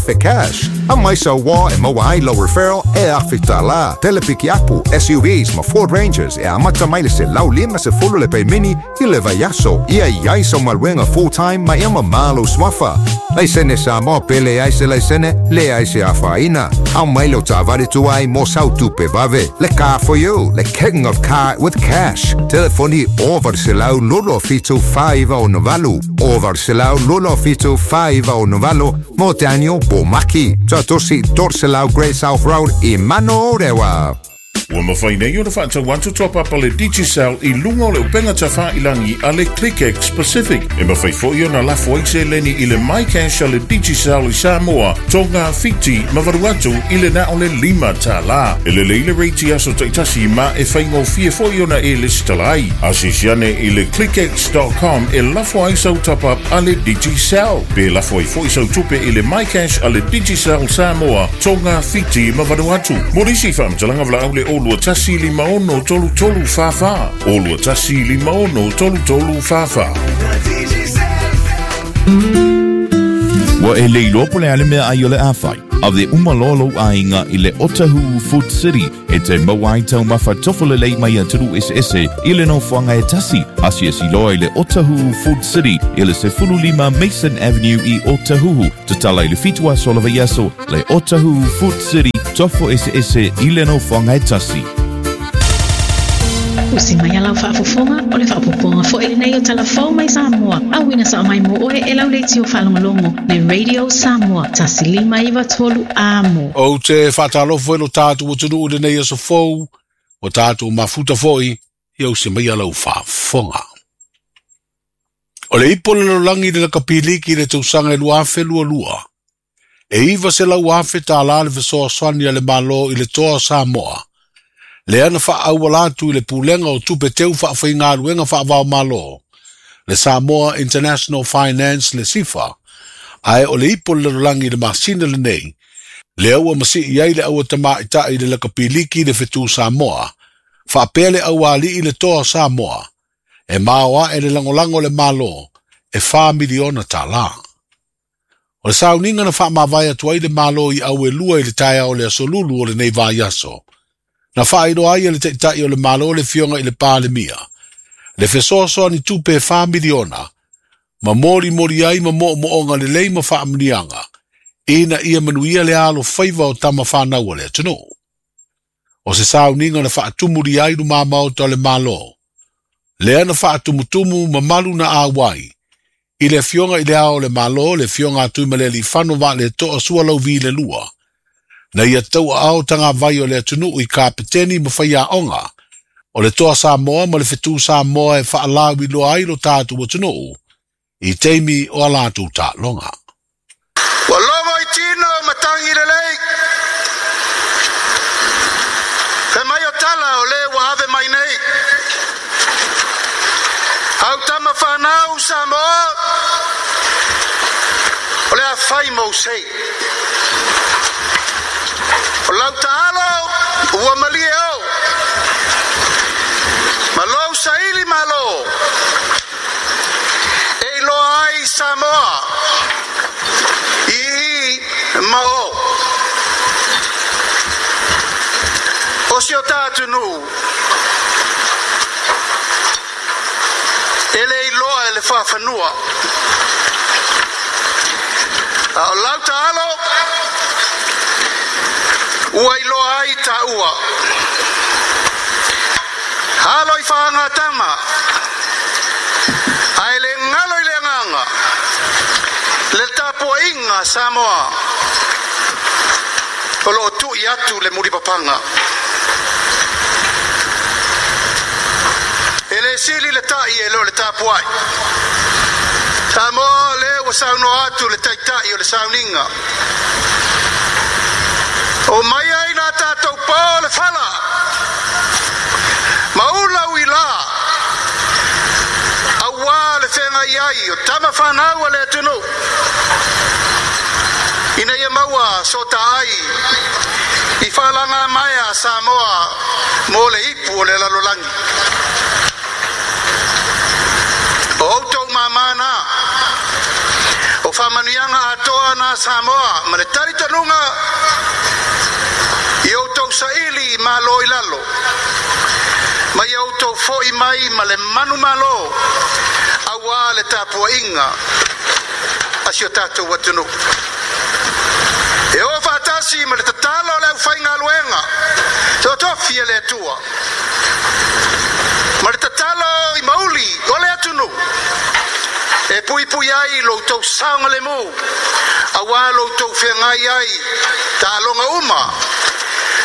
1,000 cash. Aumai sau uoa e maua ai lau referral e $1,000. Tele pikiapu, SUVs ma Ford Rangers e amata mai le 150 le pemini i le vaiaso. Ia i ai sau galuega full time ma ia mamā lou suafa. Laisene Samoa pe leai se laisene, leai se afaina. Aumai lau taavale tuai mo sau tupe vave. Le car for you, le king of car with cash. Telefoni 800 27 468, 800 27 468 mo Daniel Bomaki. Tuatosi 300 Great South Road i Manorewa. Ua mafai nei ona faatau atu top up a le Digicel i luga o le upega tafailagi a le ClickX Pacific. E mafai foi ona lafo ai seleni i le MyCash a le Digicel i Samoa, Tonga, Fiti ma Vanuatu i le na o le $5. E lelei le rate i aso taitasi ma e faigofie foi ona e lesitala ai. Asiasi ane i le clickx.com e lafo ai sau top up a le Digicel. Pe lafo ai foi sau tupe i le MyCash a le Digicel Samoa, Tonga, Fiti ma Vanuatu. Mo nisi faamatalaga valaau le 021 56 33 44 021 56 33 44. Ua e le iloa po o le a le meaai o le a fai. Ave uma loa lou aiga i le Otahuhu Food City e te maua ai taumafa tofo lelei mai atunuu eseese i le nofoaga e tasi. Asiasi loa i le Otahuhu Food City i le 15 Mason Avenue i Otahuhu. Tatala i le 7 aso o le vaiaso, le Otahuhu Food City, tofo eseese i le nofoaga e tasi. Usi mai a lau faafofoga, o le faaopoopoga foi lenei o tala fou mai Samoa, auina sao mai mo oe e lau leitio faalogologo, le Radio Samoa 1593 Amo. Ou te faatalofa foi lo tatou atunuu i lenei aso fou, ua tatou mafuta foi ia usi mai a lau faafofoga. O le ipu o le lalolagi i le lakapiliki i le tausaga e 2022, e $900,000 le fesoasoani a le Malo i le toa o Samoa, lea na faaauala atu i le Pulega o Tupe Teu Faafaigaluega Faava-o-Malo, le Samoa International Finance le SIFA, ae o le ipu o le lalolagi i le masina lenei, lea ua masii ai le auatamaitai i le lakapiliki i le fetu Samoa, faapea le aualii i le toa o Samoa, e maoae le lagolago a le Malo e $4 miliona. O le sauniga na faamavae atu ai le Malo i auelua i le taeao o le aso Lulu o lenei vaiaso, na faailoa ai e le Taitai o le Malo le Afioga i le Palemia le fesoasoani tupe e $4 miliona ma molimoli ai ma moomooga lelei ma faamuniaga ina ia manuia le alofaiva o tama fanau a le atunuu. O se sauniga na faatumulia ai lumā maota o le Malo, lea na faatumutumu mamalu na auai i le Afioga i le Ao o le Malo, le Afioga a Tuimalealiifano Vaaletoa Sualauvi le lua, na ia tauaao tagavai o le atunuu i kapeteni ma faiaoga o le toa Samoa ma le fetu Samoa e faalauiloa ai lo tatou atunuu i taimi o a latou taaloga. Ua logo i tino matagi lelei, fai mai o tala o le ua ave mai nei. Au tama whanau Samoa, o le a fai mou sei. O lau taalo, ua malie au. Ma lou saili malo, e iloa ai Samoa, i ma o. O si o tātou e le iloa e le whawhanua. A o lau taalo, ua iloa ai tāua. Halo i whaanga tama, a e le ngalo i le nganga, le tapua inga Samoa, o loo tui atu le muripapanga. E le sili le tai e leo le tapuai. Samoa le ua saunoa atu le taitai o le sauninga. O mai ai nā tātou pō le whala. Maula ui la. Aua le whenga iai o tama whanau a le atunu. Ina ia maua so ta ai. I whalanga mai a Samoa mō le ipu o le lalolagi. O outou mamana, o Faamanuiaga atoa na Samoa ma le talitonuga i outou saili malo i lalo ma ia outou fo'i mai ma le manumalo auā le tapua'iga a si o tatou atunuu. E o faatasi ma le tatalo a le aufaigaluega totofi e le Atua ma le tatalo i mauli o le atunuu e puipui ai lo outou saogalemu auā lo outou feagai ai taaloga uma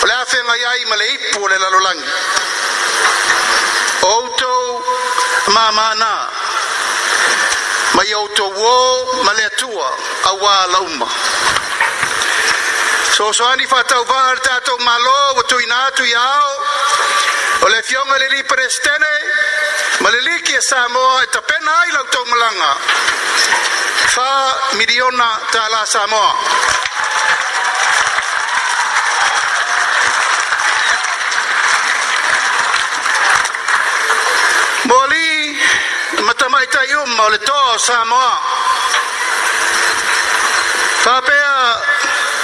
o le a feagai ai ma le ipu o le lalolagi. O outou mamā ma ia outou ō ma le Atua auā lauma. Sosoani faatauvaa le tatou Malo ua tuuina atu i aao o le Afioga i le Alii Peresetene ma le Liki a Samoa e tapena ai la outou malaga $4 miliona tālā Samoa. Mo alii ma tamaitai uma o le toa o Samoa, faapea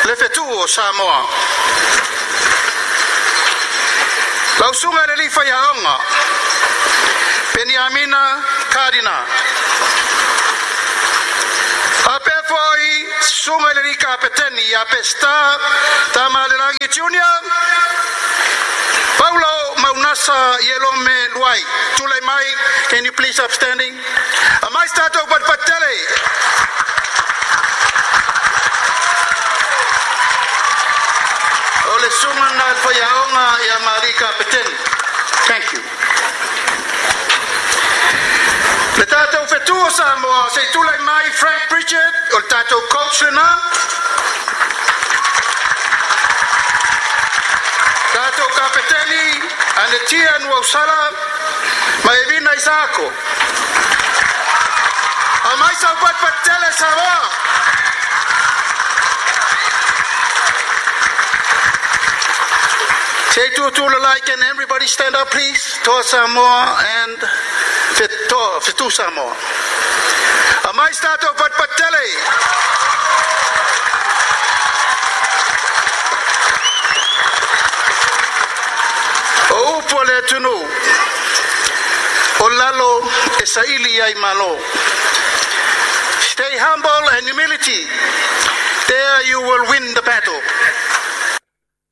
le fetu'u o Samoa. Lau susuga i le alii faiaoga, Peniamina Kadina. Faapea foi susuga i le alii kapeteni ia Peseta Tamalelagi Junior, Paulo Maunasa Ielome Luai. Tulai mai, can you please upstanding? Aumai se tatou patipati tele. O le susuga na le faiaoga ia ma alii kapeteni. Thank you. Le tatou fetu o Samoa, se i tulai mai Frank Pritchard, o le tatou coach lena. Tatou kapeteni, Anetia Nuausala, ma Evina Isaako. Aumai sau patipati tele Samoa. Se i tutū can everybody stand up please? Toa Samoa and Toa, Fetu Samoa. Aumai se tatou patipati tele. O upu a le atunuu, o lalo e saili ai malo. Stay humble and humility. There you will win the battle.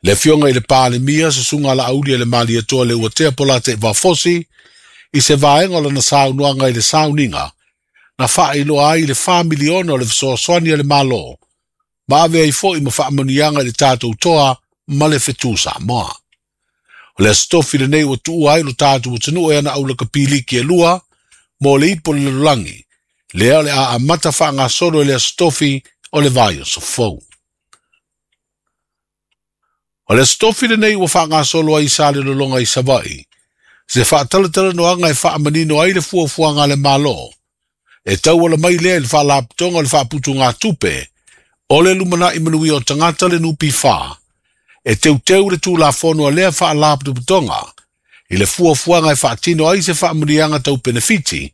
Le afioga i le Palemia, susuga Laauli e le Malietoa Leuatea Polataivao Fosi, i se vaega o lana saunoaga i le sauniga, na faailoa ai le $4 miliona o le fesoasoani a le Malo, ma ave ai foi ma faamanuiaga i le tatou toa ma le fetu Samoa. O le aso tofi lenei ua tuua ai lo tatou atunuu e ana aulakapiliki e lua, mo le ipu o le lalolagi, lea o le a amata faagasolo i le aso tofi o le vaiaso fou. O le aso tofi lenei ua faagasolo ai sa le lologa i Savaii, se faatalatalanoaga e faamanino ai le fuafuaga a le Malo, e tauala mai lea i le faalapotopotoga o le faaputugatupe, o le lumanai manuia o tagata le NPF, e teuteu le tulafono a lea faalapotopotoga, i le fuafuaga e faatino ai se faamanuiaga tau penefiti,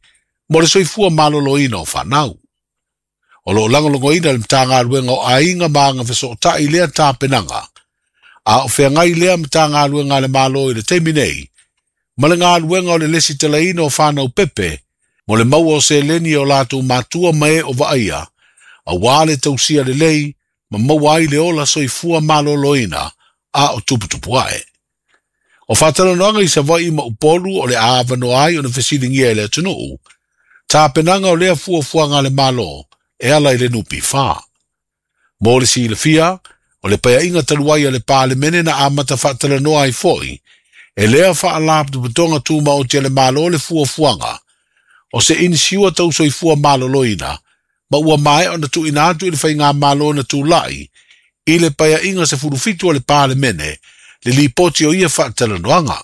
mo le soifua maloloina o fanau. O lo o lagolagoina e le Matagaluega o Aiga ma Agafesootai lea tapenaga, a o feagai lea Matagaluega a le Malo i le taimi nei, ma le galuega o le lesitalaina o fanau pepe, mo le maua o seleni o latou matua ma e o vaaia, auā le tausia lelei, ma maua ai le ola soifua maloloina, a o tuputupu ae. O faatalanoaga i Savaii ma Upolu o le a avanoa ai ona fesiligia e le atunuu, tapenaga o lea fuafuaga a le Malo e ala i le NPF. Mo le silafia, o le paeaiga talu ai a le Palemene na amata faatalanoa ai foi, e lea faalapotopotoga tumaoti a le Malo le fuafuaga, o se inisiua tau soifua maloloina, ma ua maea ona tuuina atu i le faigamalo na tulai, i le paeaiga 17 a le Palemene, le lipoti o ia faatalanoaga,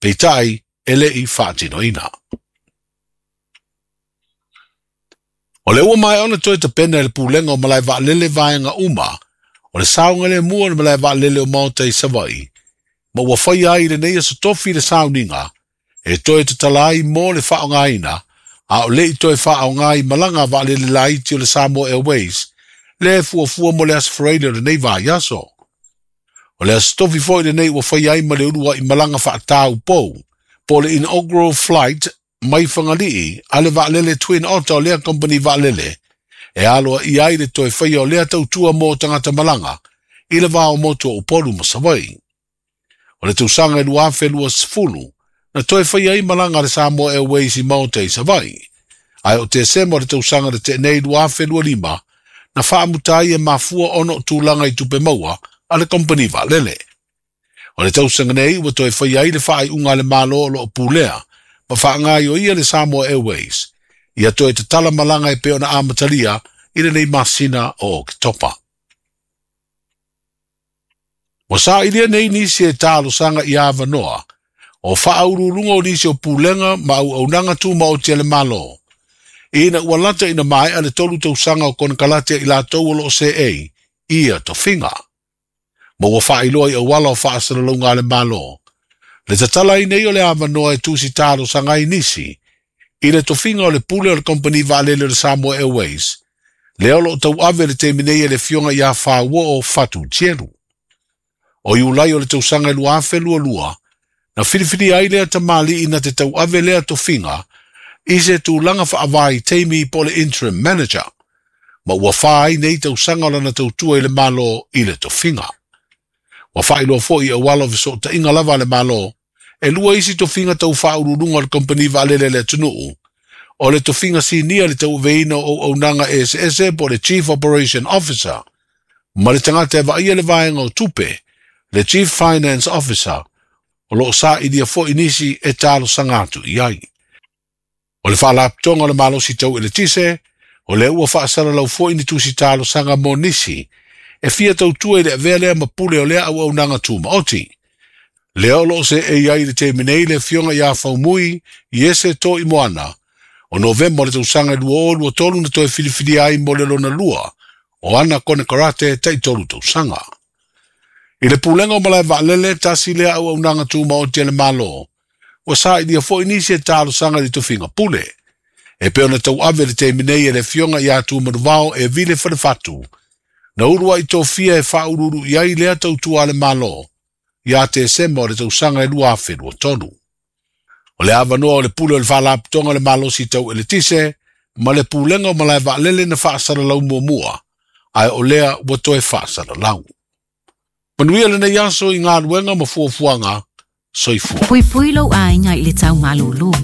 peitai e le i faatinoina. O le ua maea ona toe tapena e le Pulega o Malae Vaalele vaega uma, o le saogalemu o le malae vaalele o Maota i Savaii, ma ua faia ai i lenei aso tofi le sauniga, e toe tatala ai mo le faaaogaina, A o le'i toe fa'aaogā i malaga a vaalele laiti o le Samoa Airways lea e fuafua mo le Aso Faraile o lenei vaiaso. O le aso tofi fo'i lenei ua faia ai ma le ulua'i malaga fa'atāupou po o le inaugural flight mai Fagalii a le vaalele Twin Otter o lea kamupani vaalele e aloaia ai le toe faia o lea tautua mo tagata malaga i le va o motu o Upolu ma Savaii. O le tausaga e 2020 na toe faia ai malaga a le Samoa Airways i Maota i Savaii, ae o Tesema o le tausaga na tea nei 2025 na faamuta ai e mafua ona o tulaga i tupe maua a le kamupani vaalele. O le tausaga nei ua toe faia ai le faaiuga a le Malo o lo o pulea ma faagaoioia le Samoa Airways ia toe tatala malaga e pei ona amatalia i lenei masina o Oketopa. Ua sailia nei nisi e talosaga i avanoa o faauluuluga o nisi o pulega ma auaunaga tumaoti a le Malo ina ua lata ina maea le 3 tausaga o konekarate a i latou o lo o seei i ia tofiga. Ma ua faailoa i auala o faasalalauga a le Malo le tatala ai nei o le avanoa e tusi talosaga ai nisi i le tofiga o le pule o le kamupani vaalele o le Samoa Airways lea o lo o tauave i le taimi nei e le Afioga ia Fauo'o Fatu Tielu. O Iulai o le tausaga e 2022 na filifilia ai lea tamalii na te tauave lea tofiga i se tulaga faavaitaimi po o le interim manager, ma ua fa ai nei tausaga o lana tautua i le Malo i le tofiga. Ua faailoa foi i auala o fesootaiga lava a le Malo e lua isi tofiga tau faauluuluga o le kamupani vaalele a le atunuu, o le tofiga sinia i le tauaveina o auaunaga eseese po o le Chief Operation Officer ma le tagata e vaaia le vaega o tupe, le Chief Finance Officer, o lo o sailia foi nisi e talosaga atu i ai. O le Faalapotopotoga o le Malosi Tau Eletise, o lea ua faasalalau foi ni tusi talosaga mo nisi e fia tautua i le avea lea ma pule o lea auaunaga tumaoti. Lea o lo o seei ai i le taimi nei le Afioga ia Faumui Iese Toimoana, o Novema o le tausaga e 2023 na toe filifilia ai mo le lona lua o ana konekarate tai-tolu tausaga. I le pulega o malae vaalele, tasi lea auaunaga tumaoti a le Malo, ua sailia foi nisi e talosaga i le tofiga pule, e pei ona tauave i le taimi nei e le Afioga ia Tumanuvao e Vile Falefatu, na uluai tofia e faauluulu i ai lea tautua a le Malo ia Tesema o le tausaga e 2023. O le avanoa o le pule o le Faalapotopotoga o le Malosi Tau Eletise ma le Pulega o Malae Vaalele na faasalalau muamua, ae o lea ua toe faasalalau. Manuia lenei aso i galuega ma fuafuaga. Soifua. Puipui lou aiga i le tau malūlū.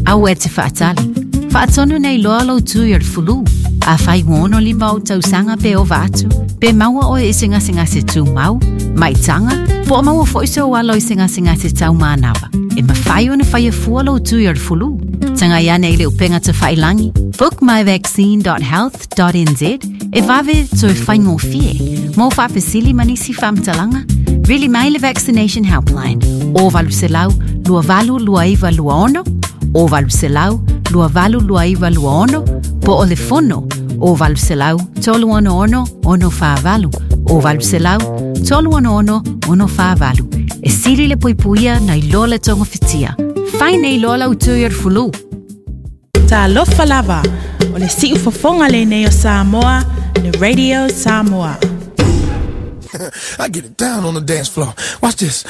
Aua e te faatali. Faatonu nei loa lou tui o le fulu. Afai ua 65 ou tausaga pe ova atu, pe maua oe i se gasegase tumau, maitaga, po o maua foi sou alo i se gasegase tau manava, e mafai ona faia fua lou tui o le fulu. Tagai ane i le upega tafailangi, bookmyvaccine.health.nz, e vave toe faigofie. Mo faafesili ma nisi faamatalaga, vili mai le Vaccination Helpline o 800 2829 26 o 800 2829 26 po o le fono o 800 366 648 o 800 366 648. E sili le puipuia nai lo le togafitia. Fai nei loa lau tui o le fulu. Talofa lava, o le siufofoga lenei o Samoa, le Radio Samoa. I get it down on the dance floor. Watch this.